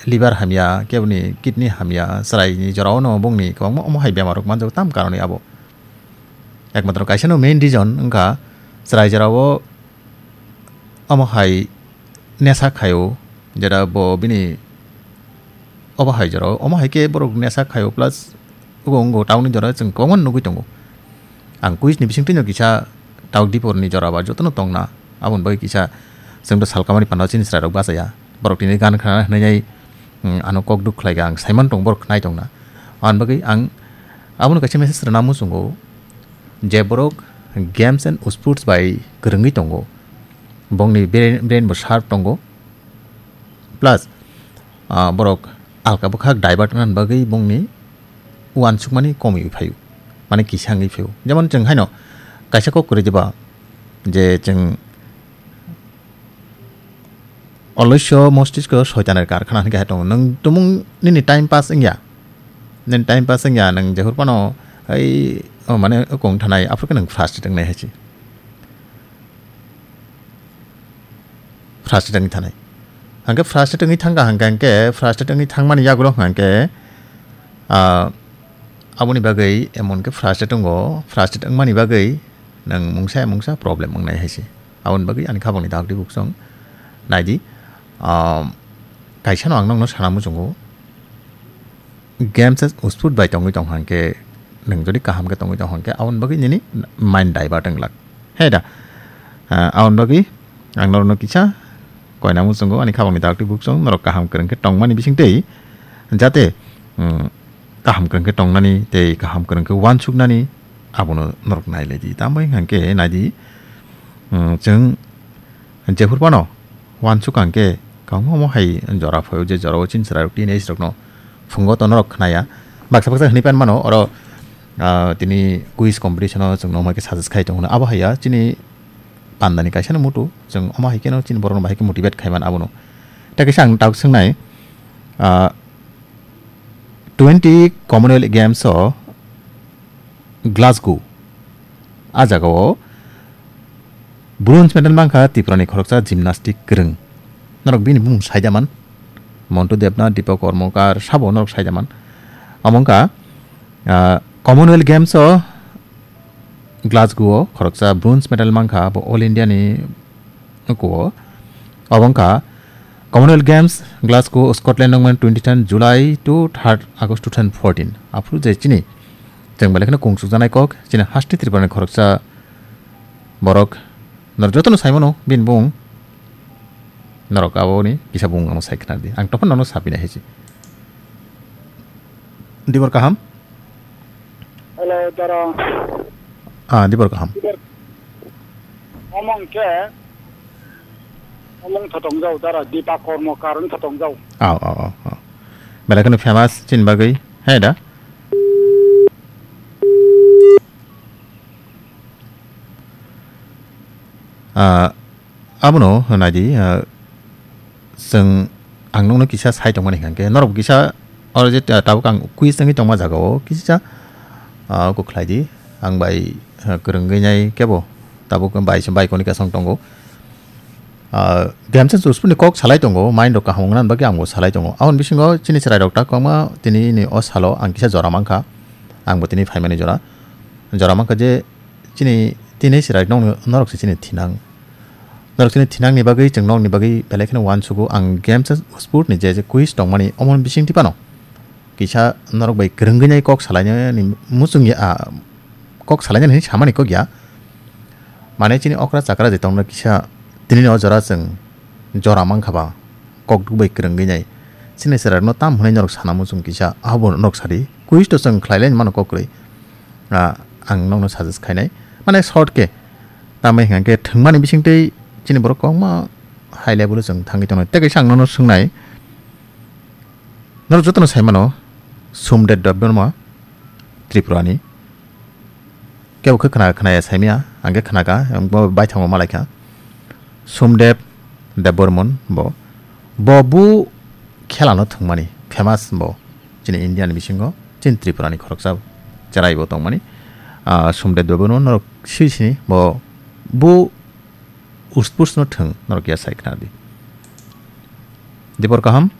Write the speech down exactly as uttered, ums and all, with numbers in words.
liver hamya, keboni kidney hamya, chwraini jorao no bongni kwbangma omo hai bemar rok manjago tam karoni abo. Ekmatro kaisa no main reason wngkha chwrai jorao omo hai nesa khaio, jera bo bini obo hai jorao, omo hai khe borok nesa khaio plus wngkha wngkha town ni jorao chwng kwbangma nugwi tongo. Ang quiz ni bisingtwi no kisa Tauk Dipor ni jora ba jotono tongna. Aboni bagwi kisa chwng do salkamani panda chini chwrai rok bachaya. Borok tini gan khna hwnwi, mm, ano kok duk khlai kha ang saiman tong borok khnai tongna. Aboni bagwi ang abono kaisa message rwna muchungo je borok games and sports bai kwrwngwi tongo. Bongni brain, brain bo sharp tongo. Plus, ah, borok alka bwkhak divert wngna bagwi bongni uansukmani komwi phaio, mane kisa wngwi phaio. Jemon chwng haino kaisa kok kwrwi diba je chwng oloisyo mostisko soitaner karkhana hwnwi khe hai tongo. Nwng tumung nini time pass wngya, nini time pass wngya, nwng jehur phano hai, o mane okong thanai aphuru khe nwng frustrate wngnai hai se. Frustrate wngwi thanai. Hangkhe frustrate wngwi thangkha hangkhe, hangkhe frustrate wngwi thangmani yagulo hangkhe, ah, aboni bagwi emon khe frustrate wngo, frustrate wngmani bagwi nwng mungsa ya mungsa problem wngnai hai se. Aboni bagwi ani khabangni dagdi buksong naidi, ah, kaisa no ang nokno sana muchungo. Games as usput bai tongwi tong hangke, nwng jodi kaham khe tongwi tong hangke, aboni bagwi nini mind divert wng lak. He da? Ah, aboni bagwi ang norokno kisa koina muchungo, ani khabangni dagtwi buksong norok kaham kwrwng khe tongmani bisingtwi, jate, mm, kaham kwrwng khe tongnani tei kaham kwrwng khe uansuknani abono norok nailaidi. Tamo wngkha hangke naidi, mm, chwng jephuru phano uansuk ang khe, kwbangma omo hai jora phaio, je jorao chini chwrairok teenage rokno phungo tono rok khnaya. Baksa baksa hwnwi pan mano, oro, ah, tini quiz competition-o chwngno omo hai khe suggest khai tongo. Abo hai ya, chini pandani kaisa no mutu, chwng omo hai kheno chini borokno bahai khe motivate khai man abono. Tei kaisa ang tabuk swngnai, ah, twenty Commonwealth Games-o Glasgow. A jagao bronze medal mankha Tripurani khoroksa gymnastic kwrwng. Norok bini bumung saida man. Montu Debnath, Deepak Karmakar, sabo norok saida man. Omo wngkha, ah, Commonwealth Games-o Glasgow-o khoroksa bronze medal mankha, bo All India-ni nukuo. Obo wngkha Commonwealth Games, Glasgow, Scotland, nongmani twenty ten July to third August two thousand fourteen. Aphuru je chini, chwng belai kheno kungsukjaknai kok, chini haste Tripurani khoroksa borok, norok jotono saimano, bini bung, norok aboni kisa bung ano sai khna di. Ang tophan nono sapinai hai se. Dibor kaham? Hello, dara. Ah, dibor kaham. Dibor. Omong ke, omong thotong jau, dara, Deepak Karmakar wng thotong jau. Aw, aw, aw, aw. Belai kheno famous chini bagwi, hai da? Ah, abono naidi, ah, chwng ang nokno kisa sai tongmani hwnkhe, norok kisa oro je ta-, tabuk ang quiz wngwi tongma jagao kisa, ah, kok khlai di. Ang bai, ah, kwrwngwi nai kebo tabuk bai, bai koni kasong tongo. Ah, Games and Sports ni kok salai tongo, mind rok kaham wngna bagwi ang bo salai tongo. Aboni bisingo chini chwrai rok ta kwbangma tini ni o salo ang kisa jora mankha, ang bo tini phaimani jora, jora mankha je chini tini chwrai nok, norok se chini thinang. Norok chini thinangni bagwi, chwng nokni bagwi belai kheno uansugo. Ang Games and Sport ni je, je quiz tongmani, omoni bisingtwi phano kisa norok bai kwrwngwi nai kok salainani muchung ya, ah, kok salainani hinwi samani kok ya. Mane chini okra chakra je tongno kisa tini o jora chwng jora mankha ba kok duk bai kwrwngwi nai. Chini chwrairokno tam hwnwi norok sana muchung kisa, abo norok sadi. Quiz to chwng khlai lai mano kok kwrwi. Ah, ang nokno suggest khainai. Mane short khe. Tamai hwnkhe thwngmani bisingtwi chini borok kwbangma high level o chwng thangwi tongnai. Tei kaisa ang nono swngnai. Norok jotono sai mano, Somdep Debbarma, Tripurani. Kebo khe khna, khnaya saimya, ang khe khnakha, ang bo baithangbo malaikha. Somdep Debbarman bo. Bo bu khelano thwngmani, famous bo. Chini India ni bisingo, chini Tripura ni khoroksa cherai bo tongmani. Ah, Somdep Debbarman norok sui sini bo bu uspurs no thwng norok ya sai khna di. Dibor kaham?